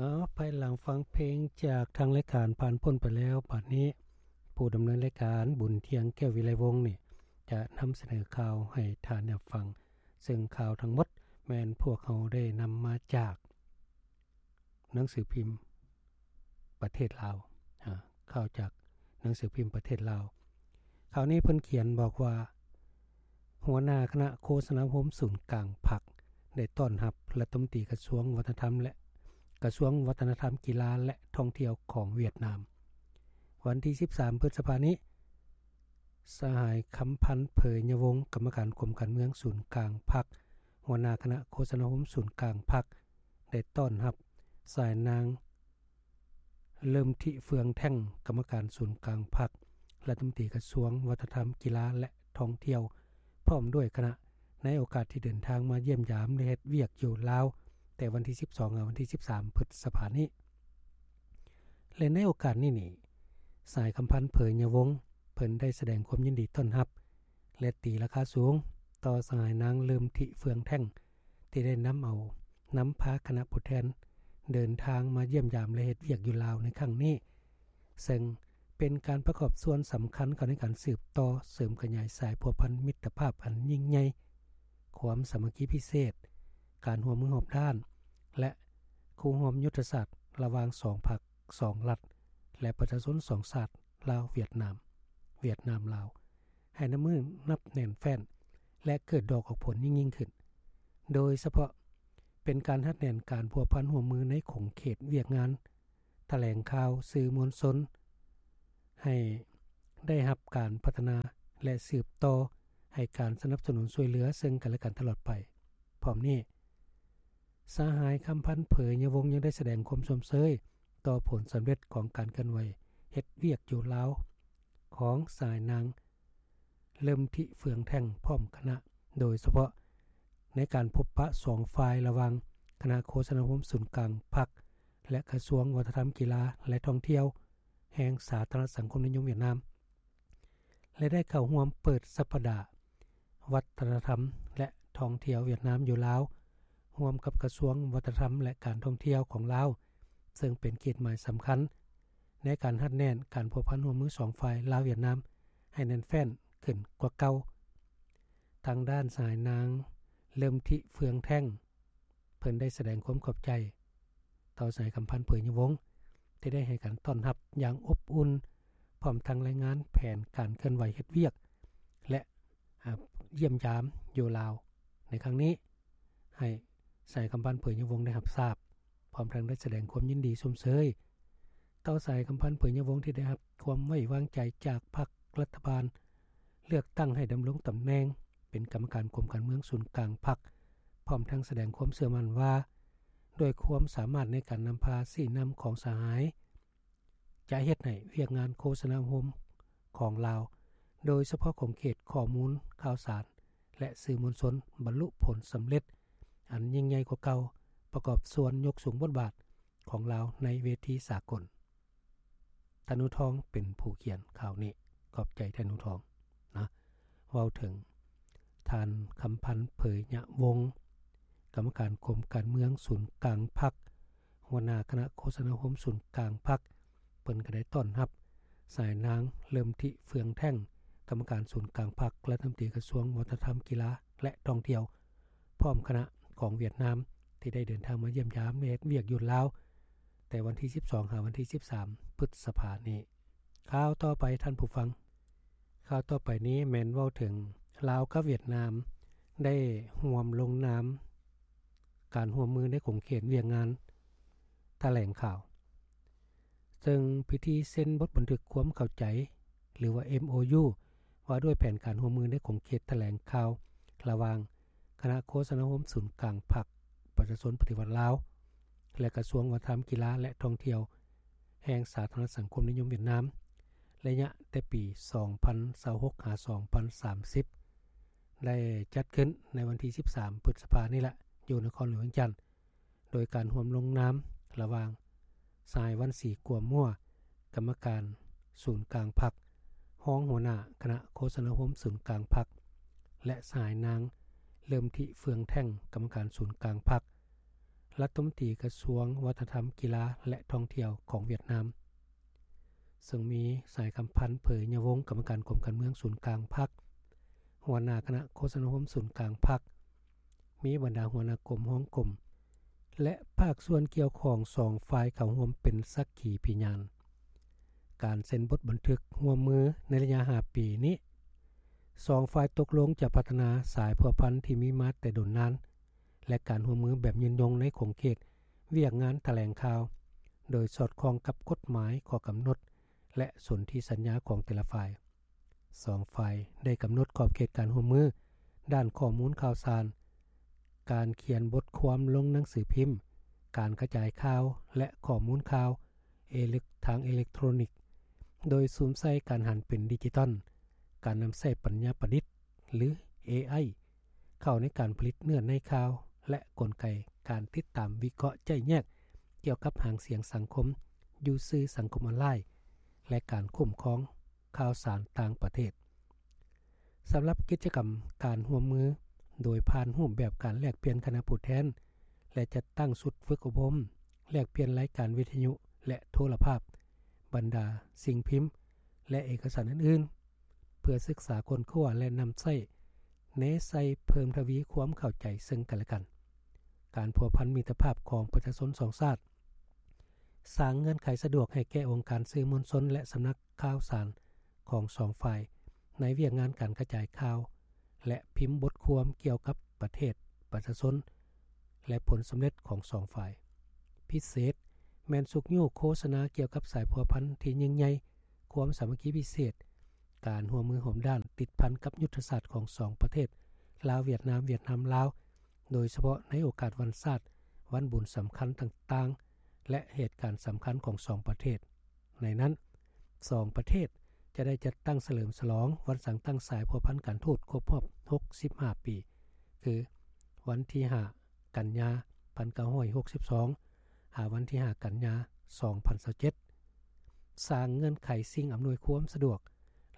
ເອີ ພາຍຫຼັງຟັງເພງຈາກທາງລາຍການຜ່ານພົ້ນໄປແລ້ວ, ບັດນີ້ຜູ້ດຳເນີນລາຍການ ບຸນທຽງ ແກ້ວວິໄລວົງ ນີ້ຈະນຳສະເໜີຂ່າວໃຫ້ທ່ານໄດ້ຮັບຟັງ, ເຊິ່ງຂ່າວທັງໝົດແມ່ນພວກເຮົາໄດ້ນຳມາຈາກໜັງສືພິມປະເທດລາວ, ອາ, ຂ່າວຈາກໜັງສືພິມປະເທດລາວ. ຂ່າວນີ້ເພິ່ນຂຽນບອກວ່າ ຫົວໜ້າຄະນະໂຄສະນາອົບຮົມສູນກາງພັກ ໄດ້ຕ້ອນຮັບລັດຖະມົນຕີກະຊວງວັດທະນະທຳ ແລະ ກະຊວງວັດທະນະທຳ, ກິລາ ແລະ ທ່ອງທ່ຽວຂອງຫວຽດນາມ. ວັນທີສິບສາມ ພຶດສະພານີ້, ສະຫາຍ ຄຳພັນ ເຜີຍຍະວົງ ກຳມະການກົມການເມືອງສູນກາງພັກ, ຫົວໜ້າຄະນະໂຄສະນາອົບຮົມສູນກາງພັກ ໄດ້ຕ້ອນຮັບສະຫາຍນາງ ເລີ່ມທິ ເຟືອງແທ່ງ ກຳມະການສູນກາງພັກ, ລັດຖະມົນຕີກະຊວງວັດທະນະທຳ, ກິລາ ແລະ ທ່ອງທ່ຽວ ພ້ອມດ້ວຍຄະນະ ໃນໂອກາດທີ່ເດີນທາງມາຢ້ຽມຢາມ ແລະ ເຮັດວຽກຢູ່ລາວ ແຕ່ວັນທີສິບສອງ ຫາ ວັນທີສິບສາມ ພຶດສະພານີ້. ແລະ ໃນໂອກາດນີ້ນີ້, ສະຫາຍ ຄຳພັນ ເຜີຍຍະວົງ ເພິ່ນໄດ້ສະແດງຄວາມຍິນດີຕ້ອນຮັບ ແລະ ຕີລາຄາສູງຕໍ່ສະຫາຍນາງ ເລີ່ມທິ ເຟືອງແທ່ງ ທີ່ໄດ້ນຳເອົາ, ນຳພາຄະນະຜູ້ແທນເດີນທາງມາຢ້ຽມຢາມ ແລະ ເຮັດວຽກຢູ່ລາວໃນຄັ້ງນີ້, ເຊິ່ງເປັນການປະກອບສ່ວນສຳຄັນເຂົ້າໃນການສືບຕໍ່ເສີມຂະຫຍາຍສາຍພົວພັນມິດຕະພາບອັນຍິ່ງໃຫຍ່, ຄວາມສາມັກຄີພິເສດ, ການຮ່ວມມືຮອບດ້ານ ແລະ ຄູ່ຮ່ວມຍຸດທະສາດລະຫວ່າງສອງພັກ, ສອງລັດ ແລະ ປະຊາຊົນສອງຊາດ ລາວ-ຫວຽດນາມ, ຫວຽດນາມ-ລາວ ໃຫ້ນັບມື້ນັບແໜ້ນແຟ້ນ ແລະ ເກີດດອກອອກຜົນຍິ່ງໆຂຶ້ນ, ໂດຍສະເພາະເປັນການຮັດແໜ້ນການພົວພັນຮ່ວມມືໃນຂົງເຂດວຽກງານຖະແຫຼງຂ່າວ, ສື່ມວນຊົນ ໃຫ້ໄດ້ຮັບການພັດທະນາ ແລະ ສືບຕໍ່ໃຫ້ການສະໜັບສະໜູນຊ່ວຍເຫຼືອເຊິ່ງກັນແລະກັນຕະຫຼອດໄປ. ພ້ອມນີ້, ສະຫາຍ ຄຳພັນ ເຜີຍຍະວົງ ຍັງໄດ້ສະແດງຄວາມຊົມເຊີຍຕໍ່ຜົນສຳເລັດຂອງການເຄື່ອນໄຫວເຮັດວຽກຢູ່ລາວຂອງສະຫາຍນາງ ເລີ່ມທິ ເຟືອງແທ່ງ ພ້ອມຄະນະ, ໂດຍສະເພາະໃນການພົບປະສອງຝ່າຍລະຫວ່າງຄະນະໂຄສະນາອົບຮົມສູນກາງພັກ ແລະ ກະຊວງວັດທະນະທຳ, ກິລາ ແລະ ທ່ອງທ່ຽວ ແຫ່ງສາທາລະນະສັງຄົມນິຍົມຫວຽດນາມ ແລະ ໄດ້ເຂົ້າຮ່ວມເປີດສັບປະດາວັດທະນະທຳ ແລະ ທ່ອງທ່ຽວຫວຽດນາມຢູ່ລາວ ຮ່ວມກັບກະຊວງວັດທະນະທຳ ແລະ ການທ່ອງທ່ຽວຂອງລາວ, ເຊິ່ງເປັນເກດໝາຍສຳຄັນໃນການຮັດແໜ້ນການພົວພັນຮ່ວມມືສອງຝ່າຍລາວ-ຫວຽດນາມໃຫ້ແໜ້ນແຟ້ນຂຶ້ນກວ່າເກົ່າ. ທາງດ້ານສະຫາຍນາງ ເລີ່ມທິ ເຟືອງແທ່ງ ເພິ່ນໄດ້ສະແດງຄວາມຂອບໃຈຕໍ່ສະຫາຍ ຄຳພັນ ເຜີຍຍະວົງ ທີ່ໄດ້ໃຫ້ການຕ້ອນຮັບຢ່າງອົບອຸ່ນ, ພ້ອມທັງລາຍງານແຜນການເຄື່ອນໄຫວເຮັດວຽກ ແລະ ອາ, ຢ້ຽມຢາມຢູ່ລາວໃນຄັ້ງນີ້ ໃຫ້ສະຫາຍ ຄຳພັນ ເຜີຍຍະວົງ ໄດ້ຮັບຊາບ, ພ້ອມທັງໄດ້ສະແດງຄວາມຍິນດີຊົມເຊີຍ ຕໍ່ສະຫາຍ ຄຳພັນ ເຜີຍຍະວົງ ທີ່ໄດ້ຮັບຄວາມໄວ້ວາງໃຈຈາກພັກລັດຖະບານເລືອກຕັ້ງໃຫ້ດຳລົງຕຳແໜ່ງເປັນກຳມະການກົມການເມືອງສູນກາງພັກ, ພ້ອມທັງສະແດງຄວາມເຊື່ອໝັ້ນວ່າ ດ້ວຍຄວາມສາມາດໃນການນຳພາຊີ້ນຳຂອງສະຫາຍ ຈະເຮັດໃຫ້ວຽກງານໂຄສະນາອົບຮົມຂອງລາວ, ໂດຍສະເພາະຂົງເຂດຂໍ້ມູນຂ່າວສານ ແລະ ສື່ມວນຊົນ ບັນລຸຜົນສຳເລັດອັນຍິ່ງໃຫຍ່ກວ່າເກົ່າ, ປະກອບສ່ວນຍົກສູງບົດບາດຂອງລາວໃນເວທີສາກົນ. ທ່ານ ໜູທອງ ເປັນຜູ້ຂຽນຂ່າວນີ້. ຂອບໃຈທ່ານ ໜູທອງນະ. ເວົ້າເຖິງທ່ານ ຄຳພັນ ເຜີຍຍະວົງ ກຳມະການກົມການເມືອງສູນກາງພັກ, ຫົວໜ້າຄະນະໂຄສະນາອົບຮົມສູນກາງພັກ, ເພິ່ນກໍໄດ້ຕ້ອນຮັບສະຫາຍນາງ ເລີ່ມທິ ເຟືອງແທ່ງ ກຳມະການສູນກາງພັກ, ລັດຖະມົນຕີກະຊວງວັດທະນະທຳ, ກິລາ ແລະ ທ່ອງທ່ຽວ ພ້ອມຄະນະຂອງຫວຽດນາມ ທີ່ໄດ້ເດີນທາງມາຢ້ຽມຢາມ ແລະ ເຮັດວຽກຢູ່ລາວ ແຕ່ວັນທີສິບສອງ ຫາ ວັນທີສິບສາມ ພຶດສະພານີ້. ຂ່າວຕໍ່ໄປທ່ານຜູ້ຟັງ, ຂ່າວຕໍ່ໄປນີ້ແມ່ນເວົ້າເຖິງລາວກັບຫວຽດນາມໄດ້ຮ່ວມລົງນາມການຮ່ວມມືໃນຂົງເຂດວຽກງານຖະແຫຼງຂ່າວ, ເຊິ່ງພິທີເຊັນບົດບັນທຶກຄວາມເຂົ້າໃຈ ຫຼືວ່າ ເອັມໂອຢູ ວ່າດ້ວຍແຜນການຮ່ວມມືໃນຂົງເຂດຖະແຫຼງຂ່າວ ລະຫວ່າງຄະນະໂຄສະນາອົບຮົມສູນກາງພັກປະຊາຊົນປະຕິວັດລາວ ແລະ ກະຊວງວັດທະນະທຳ, ກິລາ ແລະ ທ່ອງທ່ຽວ ແຫ່ງສາທາລະນະສັງຄົມນິຍົມຫວຽດນາມ ໄລຍະແຕ່ປີສອງພັນຊາວຫົກ ຫາ ສອງພັນສາມສິບ ໄດ້ຈັດຂຶ້ນໃນວັນທີສິບສາມ ພຶດສະພານີ້ລະ ຢູ່ນະຄອນຫຼວງວຽງຈັນ, ໂດຍການຮ່ວມລົງນາມລະຫວ່າງ ສະຫາຍ ວັນສີ ກົວມົວ ກຳມະການສູນກາງພັກ, ຮອງຫົວໜ້າຄະນະໂຄສະນາອົບຮົມສູນກາງພັກ ແລະ ສະຫາຍນາງ ເລີ່ມທິ ເຟືອງແທ່ງ ກຳມະການສູນກາງພັກ, ລັດຖະມົນຕີກະຊວງວັດທະນະທຳ, ກິລາ ແລະ ທ່ອງທ່ຽວຂອງຫວຽດນາມ, ເຊິ່ງມີ ສາຍຄຳພັນ ເຜີຍຍະວົງ ກຳມະການກົມການເມືອງສູນກາງພັກ, ຫົວໜ້າຄະນະໂຄສະນາອົບຮົມສູນກາງພັກ, ມີບັນດາຫົວໜ້າກົມ, ຮອງກົມ ແລະ ພາກສ່ວນກ່ຽວຂ້ອງສອງຝ່າຍເຂົ້າຮ່ວມເປັນສັກຂີພິຍານ. ການເຊັນບົດບັນທຶກຮ່ວມມືໃນໄລຍະຫ້າປີນີ້, ສອງຝ່າຍຕົກລົງຈະພັດທະນາສາຍພົວພັນທີ່ມີມາແຕ່ດົນນານ ແລະ ການຮ່ວມມືແບບຍືນຍົງໃນຂົງເຂດວຽກງານຖະແຫຼງຂ່າວ, ໂດຍສອດຄ່ອງກັບກົດໝາຍ, ຂໍ້ກຳນົດ ແລະ ສົນທິສັນຍາຂອງແຕ່ລະຝ່າຍ. ສອງຝ່າຍໄດ້ກຳນົດຂອບເຂດການຮ່ວມມືດ້ານຂໍ້ມູນຂ່າວສານ, ການຂຽນບົດຄວາມລົງໜັງສືພິມ, ການກະຈາຍຂ່າວ ແລະ ຂໍ້ມູນຂ່າວເອເລັກ ທາງເອເລັກໂທຣນິກ, ໂດຍສຸມໃສ່ການຫັນເປັນດິຈິຕອນ, ການນຳໃຊ້ປັນຍາປະດິດ ຫຼື ເອໄອ ເຂົ້າໃນການຜະລິດເນື້ອໃນຂ່າວ ແລະ ກົນໄກການຕິດຕາມ, ວິເຄາະ, ໄຈ້ແຍກກ່ຽວກັບຫາງສຽງສັງຄົມຢູ່ສື່ສັງຄົມອອນລາຍ ແລະ ການຄຸ້ມຄອງຂ່າວສານຕ່າງປະເທດ. ສຳລັບກິດຈະກຳການຮ່ວມມື ໂດຍຜ່ານຮູບແບບການແລກປ່ຽນຄະນະຜູ້ແທນ ແລະ ຈັດຕັ້ງຊຸດຝຶກອົບຮົມ, ແລກປ່ຽນລາຍການວິທະຍຸ ແລະ ໂທລະພາບ, ບັນດາສິ່ງພິມ ແລະ ເອກະສານອື່ນໆ ເພື່ອສຶກສາຄົ້ນຄວ້າ ແລະ ນຳໃຊ້ແນໃສ່ເພີ່ມທະວີຄວາມເຂົ້າໃຈເຊິ່ງກັນ ແລະ ກັນ. ການພົວພັນມິດຕະພາບຂອງປະຊາຊົນສອງຊາດ, ສ້າງເງື່ອນໄຂສະດວກໃຫ້ແກ່ອົງການສື່ມວນຊົນ ແລະ ສຳນັກຂ່າວສານຂອງສອງຝ່າຍ ໃນວຽກງານການກະຈາຍຂ່າວ ແລະ ພິມບົດຄວາມກ່ຽວກັບປະເທດ, ປະຊາຊົນ ແລະ ຜົນສຳເລັດຂອງສອງຝ່າຍ. ພິເສດແມ່ນຊຸກຍູ້ໂຄສະນາກ່ຽວກັບສາຍພົວພັນທີ່ຍິ່ງໃຫຍ່, ຄວາມສາມັກຄີພິເສດ, ການຮ່ວມມືຮ່ວມດ້ານ, ຕິດພັນກັບຍຸດທະສາດຂອງສອງປະເທດ, ລາວ-ຫວຽດນາມ, ຫວຽດນາມ-ລາວ, ໂດຍສະເພາະໃນໂອກາດວັນຊາດ, ວັນບຸນສຳຄັນຕ່າງໆ ແລະ ເຫດການສຳຄັນຂອງສອງປະເທດ. ໃນນັ້ນ, ສອງປະເທດຈະໄດ້ຈັດຕັ້ງສະເຫຼີມສະຫຼອງວັນສ້າງຕັ້ງສາຍພົວພັນການທູດຄົບຮອບຫົກສິບຫ້າປີ, ຄື ວັນທີຫ້າ ກັນຍາ ພັນເກົ້າຮ້ອຍຫົກສິບສອງ ຫາ ວັນທີຫ້າ ກັນຍາ ສອງພັນຊາວເຈັດ, ສ້າງເງື່ອນໄຂສິ່ງອຳນວຍຄວາມສະດວກ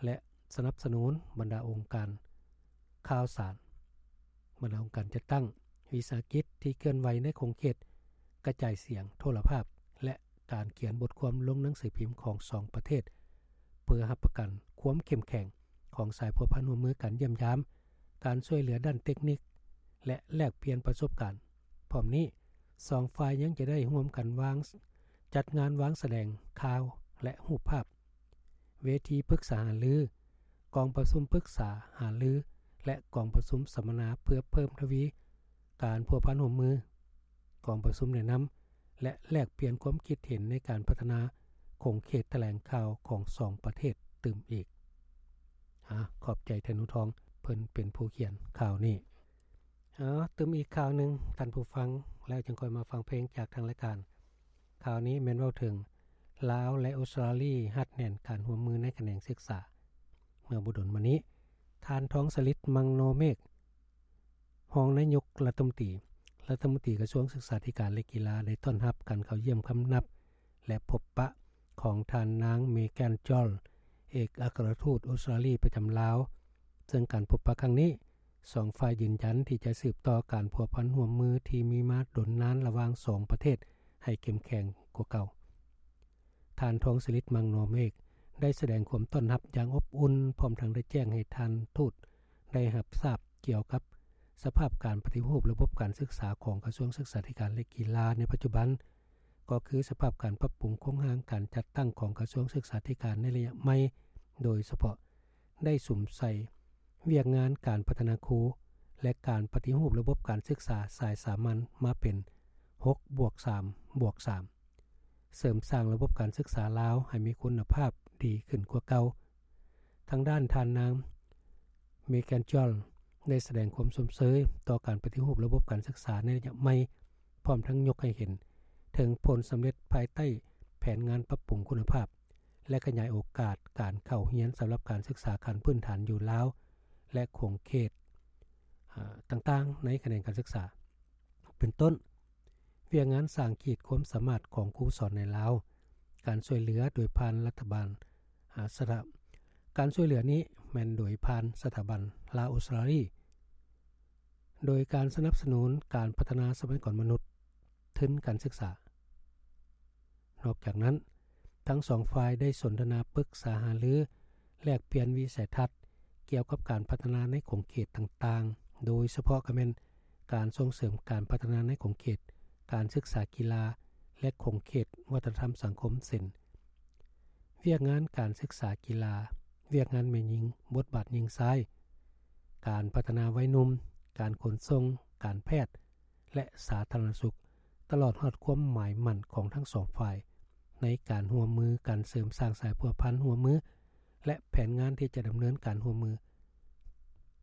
ແລະ ສະໜັບສະໜູນບັນດາອົງການຂ່າວສານ, ບັນດາອົງການຈັດຕັ້ງ, ວິສາຫະກິດທີ່ເຄື່ອນໄຫວໃນຂົງເຂດກະຈາຍສຽງໂທລະພາບ ແລະ ການຂຽນບົດຄວາມລົງໜັງສືພິມຂອງສອງປະເທດ, ເພື່ອຮັບປະກັນຄວາມເຂັ້ມແຂງຂອງສາຍພົວພັນຮ່ວມມືການຢ້ຽມຢາມ, ການຊ່ວຍເຫຼືອດ້ານເຕັກນິກ ແລະ ແລກປ່ຽນປະສົບການ. ພ້ອມນີ້, ສອງຝ່າຍຍັງຈະໄດ້ຮ່ວມກັນວາງ, ຈັດງານວາງສະແດງຂ່າວ ແລະ ຮູບພາບ, ເວທີປຶກສາຫາລື, ກອງປະຊຸມປຶກສາຫາລື ແລະ ກອງປະຊຸມສຳມະນາເພື່ອເພີ່ມທະວີການພົວພັນຮ່ວມມື, ກອງປະຊຸມແນະນຳ ແລະ ແລກປ່ຽນຄວາມຄິດເຫັນໃນການພັດທະນາຂົງເຂດຖະແຫຼງຂ່າວຂອງສອງປະເທດຕື່ມອີກ. ອາ, ຂອບໃຈທ່ານໜູທອງ, ເພິ່ນເປັນຜູ້ຂຽນຂ່າວນີ້. ເອົາ, ຕື່ມອີກຂ່າວໜຶ່ງ, ທ່ານຜູ້ຟັງ, ແລ້ວຈຶ່ງຄ່ອຍມາຟັງເພງຈາກທາງລາຍການ. ຂ່າວນີ້ແມ່ນເວົ້າເຖິງ ລາວ ແລະ ອົດສະຕຣາລີ ຮັດແໜ້ນການຮ່ວມມືໃນຂະແໜງສຶກສາ. ເມື່ອບໍ່ດົນມານີ້, ທ່ານ ທອງສະລິດ ມັງໂນເມກ ຮອງນາຍົກລັດຖະມົນຕີ, ລັດຖະມົນຕີກະຊວງສຶກສາທິການ ແລະ ກິລາ ໄດ້ຕ້ອນຮັບການເຂົ້າຢ້ຽມຄຳນັບ ແລະ ພົບປະຂອງທ່ານນາງ ເມແກນ ຈອລ ເອກອັກຄະລັດທູດອົດສະຕຣາລີປະຈຳລາວ, ເຊິ່ງການພົບປະຄັ້ງນີ້, ສອງຝ່າຍຢືນຢັນທີ່ຈະສືບຕໍ່ການພົວພັນຮ່ວມມືທີ່ມີມາດົນນານລະຫວ່າງສອງປະເທດໃຫ້ເຂັ້ມແຂງກວ່າເກົ່າ. ທ່ານ ທອງສະລິດ ມັງໂນເມກ ໄດ້ສະແດງຄວາມຕ້ອນຮັບຢ່າງອົບອຸ່ນ, ພ້ອມທັງໄດ້ແຈ້ງໃຫ້ທ່ານທູດໄດ້ຮັບຊາບກ່ຽວກັບສະພາບການປະຕິຮູບລະບົບການສຶກສາຂອງກະຊວງສຶກສາທິການ ແລະ ກິລາໃນປັດຈຸບັນ, ກໍຄືສະພາບການປັບປຸງໂຄງຮ່າງການຈັດຕັ້ງຂອງກະຊວງສຶກສາທິການໃນໄລຍະໃໝ່, ໂດຍສະເພາະໄດ້ສຸມໃສ່ວຽກງານການພັດທະນາຄູ ແລະ ການປະຕິຮູບລະບົບການສຶກສາສາຍສາມັນມາເປັນ ຫົກບວກສາມບວກສາມ ເສີມສ້າງລະບົບການສຶກສາລາວໃຫ້ມີຄຸນນະພາບດີຂຶ້ນກວ່າເກົ່າ. ທາງດ້ານທ່ານນາງ ເມແກນ ຈອລ ໄດ້ສະແດງຄວາມຊົມເຊີຍຕໍ່ການປະຕິຮູບລະບົບການສຶກສາໃນໄລຍະໃໝ່, ພ້ອມທັງຍົກໃຫ້ເຫັນເຖິງຜົນສຳເລັດພາຍໃຕ້ແຜນງານປັບປຸງຄຸນນະພາບ ແລະ ຂະຫຍາຍໂອກາດການເຂົ້າຮຽນສຳລັບການສຶກສາຂັ້ນພື້ນຖານຢູ່ລາວ ແລະ ຂົງເຂດ ອາ ຕ່າງໆ ໃນຂະແໜງການສຶກສາ. ເປັນຕົ້ນ, ວຽກງານສ້າງຂີດຄວາມສາມາດຂອງຄູສອນໃນລາວ, ການຊ່ວຍເຫຼືອໂດຍຜ່ານລັດຖະບານ ອາ ສະຖະ ການຊ່ວຍເຫຼືອນີ້ແມ່ນໂດຍຜ່ານສະຖາບັນລາວອົດສະຕຣາລີ, ໂດຍການສະໜັບສະໜູນການພັດທະນາຊັບພະຍາກອນມະນຸດ, ທຶນການສຶກສາ. ນອກຈາກນັ້ນ, ທັງສອງຝ່າຍໄດ້ສົນທະນາປຶກສາຫາລື ແລກປ່ຽນວິໄສທັດກ່ຽວກັບການພັດທະນາໃນຂົງເຂດຕ່າງໆ, ໂດຍສະເພາະກໍແມ່ນການສົ່ງເສີມການພັດທະນາໃນຂົງເຂດການສຶກສາກິລາ ແລະ ຂົງເຂດວັດທະນະທຳສັງຄົມ ເຊັ່ນ ວຽກງານການສຶກສາກິລາ, ວຽກງານແມ່ຍິງ, ບົດບາດຍິງຊາຍ, ການພັດທະນາໄວໜຸ່ມ, ການຂົນສົ່ງ, ການແພດ ແລະ ສາທາລະນະສຸກ, ຕະຫຼອດຮອດຄວາມໝາຍໝັ້ນຂອງທັງສອງຝ່າຍ ໃນການຮ່ວມມືກັນເສີມສ້າງສາຍພົວພັນຮ່ວມມື ແລະ ແຜນງານທີ່ຈະດຳເນີນການຮ່ວມມື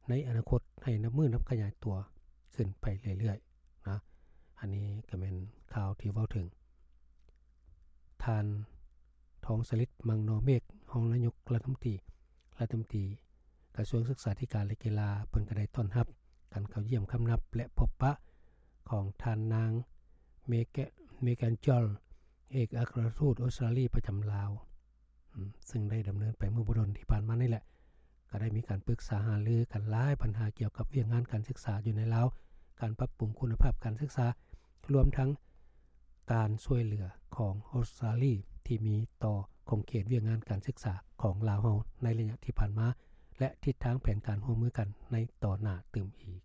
ໃນອະນາຄົດໃຫ້ນັບມື້ນັບຂະຫຍາຍຕົວຂຶ້ນໄປເລື້ອຍໆນະ. ອັນນີ້ກໍແມ່ນຂ່າວທີ່ເວົ້າເຖິງ ທ່ານ ທອງສະລິດ ມັງນໍເມກ ຮອງນາຍົກລັດຖະມົນຕີ ລັດຖະມົນຕີກະຊວງສຶກສາທິການ ແລະ ກິລາ ເພິ່ນກໍໄດ້ຕ້ອນຮັບການເຂົ້າຢ້ຽມຄຳນັບ ແລະ ພົບປະຂອງທ່ານນາງ ເມແກ ເມແກນຈອນ ເອກອັກຄະລັດທູດອົດສະຕາລີປະຈຳລາວ ອາ ຊຶ່ງໄດ້ດຳເນີນໄປເມື່ອບໍ່ດົນທີ່ຜ່ານມານີ້ແຫຼະ. ກໍໄດ້ມີການປຶກສາຫາລືກັນຫຼາຍບັນຫາກ່ຽວກັບວຽກງານການສຶກສາຢູ່ໃນລາວ, ການປັບປຸງຄຸນນະພາບການສຶກສາ, ລວມທັງການຊ່ວຍເຫຼືອຂອງອົດສະຕາລີທີ່ມີຕໍ່ຂົງເຂດວຽກງານການສຶກສາຂອງລາວເຮົາໃນໄລຍະທີ່ຜ່ານມາ ແລະ ທິດທາງແຜນການຮ່ວມມືກັນໃນຕໍ່ໜ້າຕື່ມອີກ.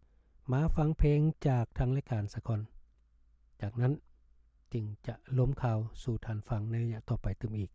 ມາຟັງເພງຈາກທາງລາຍການສາກ່ອນ. ຈາກນັ້ນຈຶ່ງຈະລົມຂ່າວສູ່ທ່ານຟັງໃນໄລຍະຕໍ່ໄປຕື່ມອີກ.